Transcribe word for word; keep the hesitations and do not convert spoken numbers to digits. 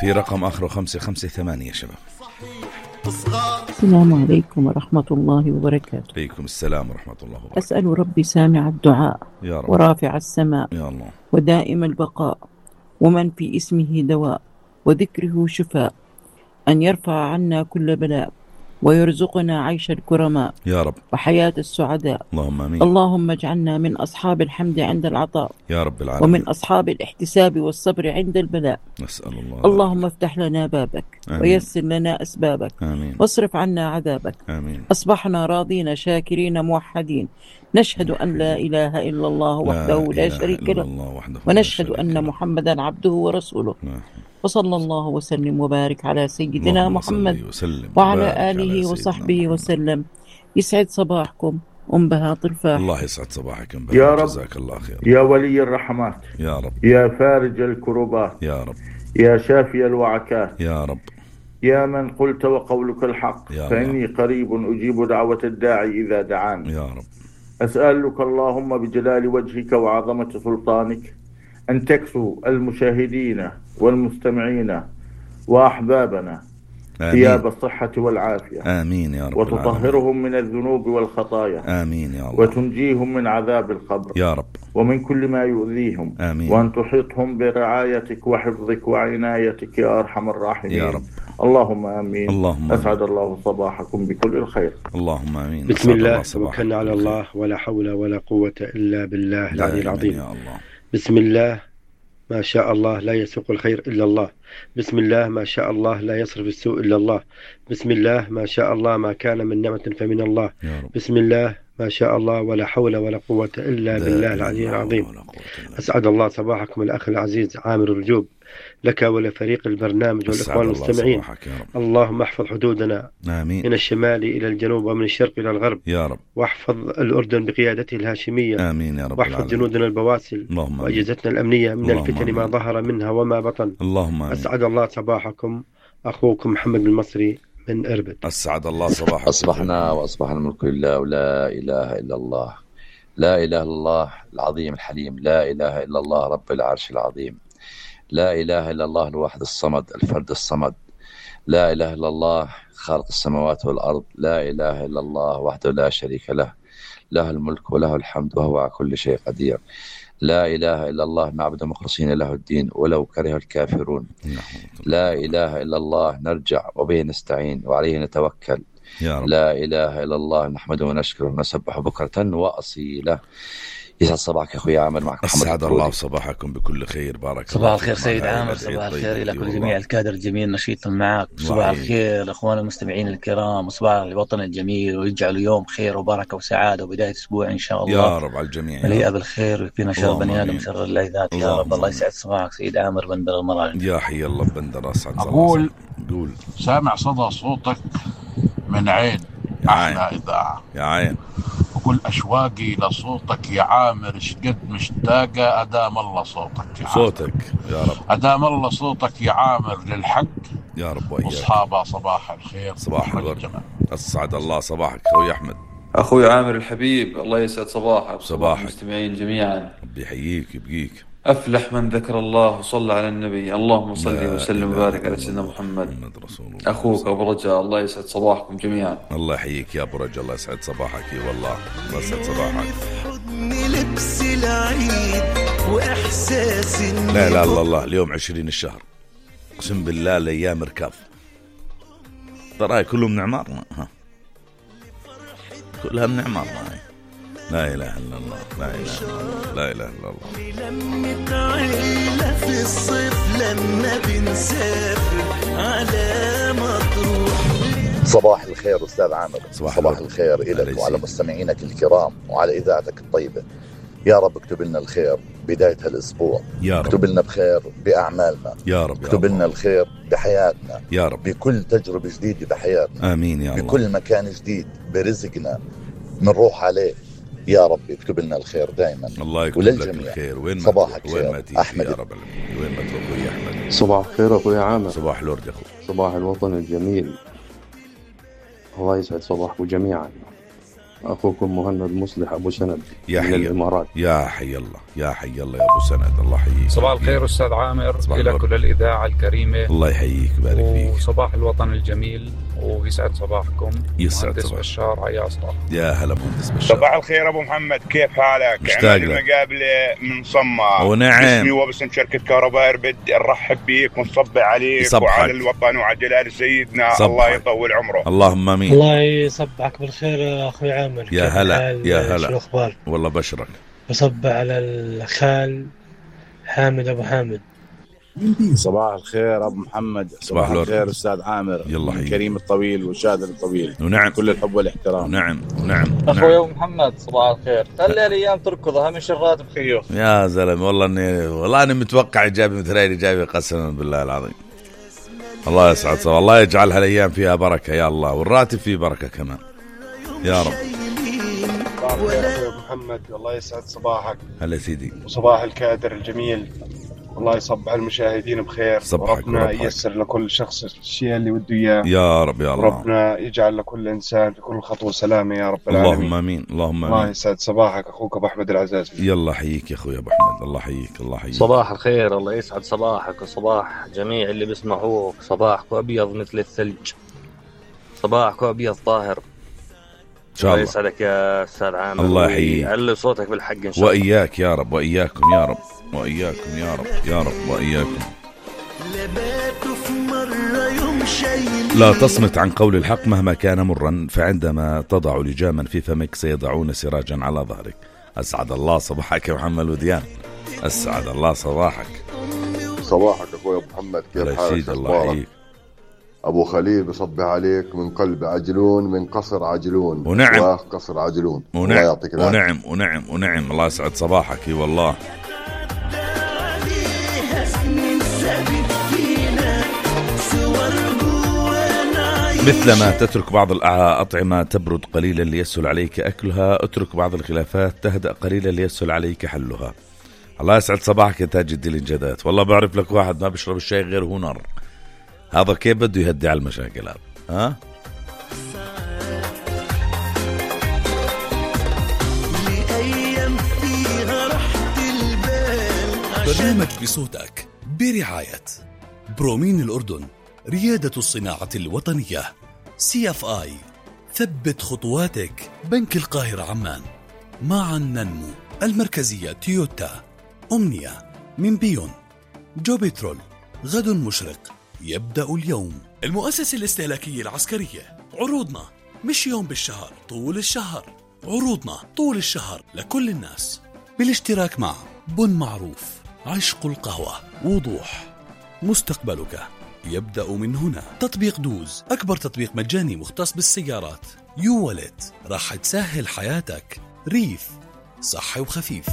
في رقم آخره خمسة خمسة ثمانية يا شباب. السلام عليكم ورحمة الله وبركاته. عليكم السلام ورحمة الله وبركاته. أسأل ربي سامع الدعاء يا رب، ورافع السماء يا الله، ودائم البقاء، ومن في اسمه دواء وذكره شفاء، أن يرفع عنا كل بلاء ويرزقنا عيش الكرماء يا رب، وحياة السعداء. اللهم آمين. اللهم اجعلنا من أصحاب الحمد عند العطاء يا رب العالمين، ومن أصحاب الاحتساب والصبر عند البلاء. نسأل الله. اللهم افتح لنا بابك آمين. ويسر لنا أسبابك. آمين. واصرف عنا عذابك. آمين. أصبحنا راضين شاكرين موحدين، نشهد أن لا إله إلا الله وحده لا, لا شريك له، ونشهد أن محمدا عبده ورسوله. لا. وصلى الله وسلم وبارك على سيدنا محمد وعلى آله وصحبه وسلم. يسعد صباحكم أم بهاء طرفاح. الله يسعد صباحك أم بهاء، جزاك الله خير. يا ولي الرحمات، يا رب، يا فارج الكربات، يا رب، يا شافي الوعكات، يا رب، يا من قلت وقولك الحق، فإني قريب أجيب دعوة الداعي إذا دعان. يا رب، أسألك اللهم بجلال وجهك وعظمة سلطانك أن تكسو المشاهدين والمستمعين وأحبابنا ثياب الصحة والعافية. آمين يا رب، وتطهرهم من الذنوب والخطايا. آمين يا الله. وتنجيهم من عذاب القبر يا رب، ومن كل ما يؤذيهم. آمين. وأن تحيطهم برعايتك وحفظك وعنايتك يا أرحم الراحمين يا رب. اللهم آمين. اللهم أسعد الله صباحكم بكل الخير. اللهم آمين. بسم الله، توكلنا على الله ولا حول ولا قوة إلا بالله العلي العظيم. يا الله. بسم الله ما شاء الله لا يسوق الخير إلا الله. بسم الله ما شاء الله لا يصرف السوء إلا الله. بسم الله ما شاء الله ما كان من نعمة فمن الله. بسم الله ما شاء الله ولا حول ولا قوة إلا بالله العلي العظيم. أسعد الله صباحكم الأخ العزيز عامر الرجوب، لك ولفريق البرنامج والإخوان المستمعين. اللهم احفظ حدودنا آمين. من الشمال إلى الجنوب ومن الشرق إلى الغرب يا رب. واحفظ الأردن بقيادته الهاشمية. آمين يا رب. واحفظ جنودنا البواسل وأجهزتنا الأمنية من الفتن ما ظهر منها وما بطن. اللهم آمين. أسعد الله صباحكم، أخوكم محمد المصري من إربد. أسعد الله صباحكم. أصبحنا وأصبح الملك لله ولا إله إلا الله، لا إله إلا الله العظيم الحليم، لا إله إلا الله رب العرش العظيم، لا إله إلا الله الواحد الصمد الفرد الصمد، لا إله إلا الله خالق السماوات والأرض، لا إله إلا الله وحده لا شريك له، له الملك وله الحمد وهو على كل شيء قدير، لا إله إلا الله نعبد مخلصين له الدين ولو كره الكافرون، لا إله إلا الله نرجع وبه نستعين وعليه نتوكل، لا إله إلا الله نحمده ونشكره ونسبح بكرة وأصيله. يسعد صباحك أخوي عامر، معك محمد. أسعد الله صباحكم بكل خير. بارك صباح الخير سيد عامر، صباح الخير إلى كل جميع الكادر الجميل نشيط معك. صباح الخير أخوان المستمعين الكرام، وصباح الوطن الجميل، ويجعل يوم خير وبركة وسعادة وبداية أسبوع إن شاء الله يا رب على الجميع، مليئة بالخير ويكفينا شر بني آدم شر اللذات يا رب. الله يسعد صباحك سيد عامر بندر المرأة. يا حي الله بندر. أسعد صباحك. أقول قول سامع صدى صوتك من عين أحلى إذاعة يا عين، وكل أشواقي لصوتك يا عامر، شقد مشتاقة أدام الله صوتك يا صوتك يا رب، أدام الله صوتك يا عامر للحق يا رب وإياك. أصحابها صباح الخير، صباح الورد. أسعد الله صباحك أخوي أحمد. أخوي عامر الحبيب، الله يسعد صباحك صباح المستمعين جميعا. ربي يحييك يبقيك. أفلح من ذكر الله وصلى على النبي. اللهم صل وسلم وبارك على سيدنا محمد. محمد رسول الله. أخوك أبو رجاء، الله يسعد صباحكم جميعا. الله يحييك يا أبو رجاء، الله يسعد صباحك. اي والله الله يسعد صباحك. لا لا الله الله، اليوم عشرين الشهر، اقسم بالله الايام ركاف، ترى كلهم من عمارنا، ها كلها من عمارنا. هاي لا إله إلا الله، لا إله إلا الله، لا إله إلا الله. لمة عيلة في الصيف لما بنسافر على مطروح. صباح الخير أستاذ عامر. صباح, صباح الخير إليك وعلى مستمعينك الكرام وعلى إذاعتك الطيبة. يا رب اكتب لنا الخير بداية هالأسبوع، يا رب اكتب لنا بخير بأعمالنا يا رب، اكتب لنا الخير بحياتنا يا رب، بكل تجربة جديدة بحياتنا. آمين يا الله. بكل مكان جديد برزقنا منروح عليه يا رب اكتب لنا الخير دائما. الله يكتب لك الخير. وين ما صباحك وين ما تيجي أحمد يا رب العالمين. وين ما تروح يا أحمد. صباح الخير أخوي عامر. صباح الورد يا أخوي. صباح الوطن الجميل، الله يسعد صباحكم جميعا. أخوكم مهند مصلح أبو سند يا من حي الإمارات. يا حي الله يا حي الله يا أبو سند، الله يحييك. صباح الخير أستاذ عامر، لك وللإذاعة الكريمة، الله يحييك ويبارك فيك. وصباح الوطن الجميل، ويسعد صباحكم. يسعد مهندس بشار عياصة. يا هلا مهندس بشار. صباح الخير أبو محمد، كيف حالك؟ مشتاق لك. المقابلة من صمة. ونعم. اسمي وباسم شركة كهرباء إربد، نرحب بيك ونصبح عليك يصبحك. وعلى الوطن وعلى جلال سيدنا. صبحك. الله يطول عمره. اللهم امين. الله يصبحك بالخير اخوي عامر. يا هلا يا هلا. شو الاخبار؟ والله بشرك. بصب على الخال حامد ابو حامد. صباح الخير ابو محمد. صباح, صباح الخير استاذ عامر. يلا حي. كريم الطويل وشادر الطويل. ونعم. كل الحب والاحترام. ونعم ونعم. اخوي ابو محمد صباح الخير. خلي الايام تركض، اهم شغلات بخيوف. يا زلمه والله اني والله اني متوقع ايجابي مثل هاي الايجابي قسما بالله العظيم. الله يسعد صباح، الله يجعل هالايام فيها بركه يا الله، والراتب فيه بركه كمان يا رب. صباح الخير ابو محمد، والله يسعد صباحك. هلا سيدي. وصباح الكادر الجميل، الله يصبح المشاهدين بخير. ربنا ييسر لكل شخص الشيء اللي بده اياه يا رب يا الله. ربنا يجعل لكل انسان في كل خطوه سلامه يا رب العالمين. اللهم امين اللهم امين. الله يسعد صباحك اخوك ابو احمد العزاز. يلا حييك يا اخوي ابو احمد، الله يحييك الله يحييك. صباح الخير، الله يسعد صباحك وصباح جميع اللي بيسمعوك. صباحك ابيض مثل الثلج، صباحك ابيض طاهر ان شاء الله. الله يسعدك يا استاذ عامر، الله يحييك. علي صوتك بالحق ان شاء الله. واياك يا رب، واياكم يا رب، واياكم يا رب يا رب واياكم. لا تصمت عن قول الحق مهما كان مرا، فعندما تضع لجاما في فمك سيضعون سراجا على ظهرك. اسعد الله صباحك يا محمد وديان، اسعد الله صباحك. صباحك اخوي ابو محمد، كيف حالك؟ الله يحييك. ابو خليل بصبح عليك من قلب عجلون، من قصر عجلون. ونعم. قصر عجلون. ونعم. الله يعطيك العافيه. ونعم ونعم ونعم. الله يسعد صباحك. اي والله. مثلما تترك بعض الأطعمة تبرد قليلا ليسهل عليك أكلها، اترك بعض الخلافات تهدأ قليلا ليسهل عليك حلها. الله يسعد صباحك يا تاج الدين الجدات. والله بعرف لك واحد ما بيشرب الشاي غير هو نار، هذا كيف بده يهدي على المشاكل هذا؟ ها؟ برنامج بصوتك برعاية برومين الأردن، ريادة الصناعة الوطنية، سي اف اي، ثبت خطواتك، بنك القاهرة عمان، معا ننمو، المركزية تويوتا، أمنية، من بيون، جو بترول، غد مشرق، يبدأ اليوم، المؤسسة الاستهلاكية العسكرية. عروضنا مش يوم بالشهر، طول الشهر، عروضنا طول الشهر لكل الناس، بالاشتراك مع بن معروف، عشق القهوة، وضوح، مستقبلك يبدأ من هنا. تطبيق دوز، أكبر تطبيق مجاني مختص بالسيارات. يو والت، راح تسهل حياتك. ريف، صحي وخفيف.